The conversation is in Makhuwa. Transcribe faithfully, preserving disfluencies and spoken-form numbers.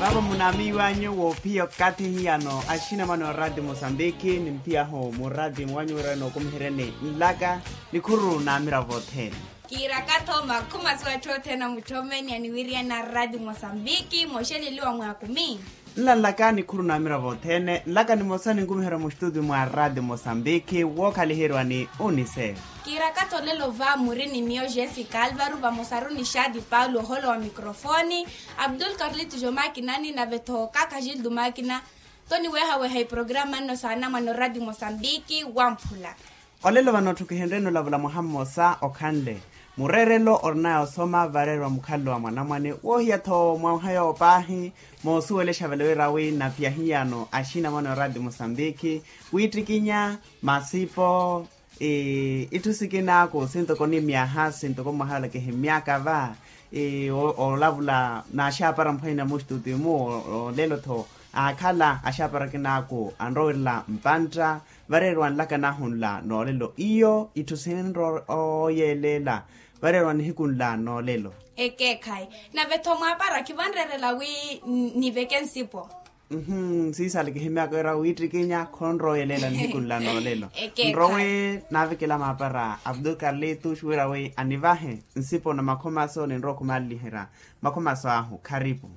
Vaavo munaamiiwanyu woophiya okathi hiyano axinamwane oraati mosambiki nimphiyahu muraati mwanyu wira nookumiheryani nlaka nikhuru n'amiravo othene. Kiiraka-tho makhumaso atthu othene a mutthoomeni aniwiriyana raati mosambiki mooxeleliwa mwaakumi. Nla nlaka nikhuru n'amiravo othene nlaka nimosa ninkumiherya muxituti mwa raati mosambiki wookhaliheriwa ni unicef. Kiiraka-tho olelo va muri ni miyo jessica alvaro vamosaru ni xaati paulo oholo wa mikrofooni. Abdul karlito jomakinani nave-tho kakhajildo makina. Toniwehaweha iprograma nno saana mwa norati mosambiki wamphula. Olelo vano otthu kihenreni olavula mwaha mmosa okhanle mureerelo orinaya osoma vareeriwa mukhalelo wa mwanamwane woohiya-tho mwaha yoowo paahi. Moosuwelexa vale wira wi napiya hiyano axinamwane orati mosambiki wiittikinya masipo itthu sikinaaku sintoko ni myaha sintoko mwaha yola kihimyaka va olavula naaxaapara mphwanyana muxituti mu olelo-tho aakhala axaapara akinaaku anrowerela mpantta vareeriwa nlaka naahu nla noolelo iyo itthu sinrowa oyeeleela vareeriwa nihiku nla noolelo. Ekeekhayi nave-tho mwaapara khivanreerela wi niveke nsipo. Siisaale kihimyaka wira wiittikinya khonrowa oyeeleela nihiku nla noolelo. Nrowe naavekela maapara abdul karlitos wira wi anivahe nsipo na makhomaso ninrowa okhumaliliherya makhomaso ahu kharipu.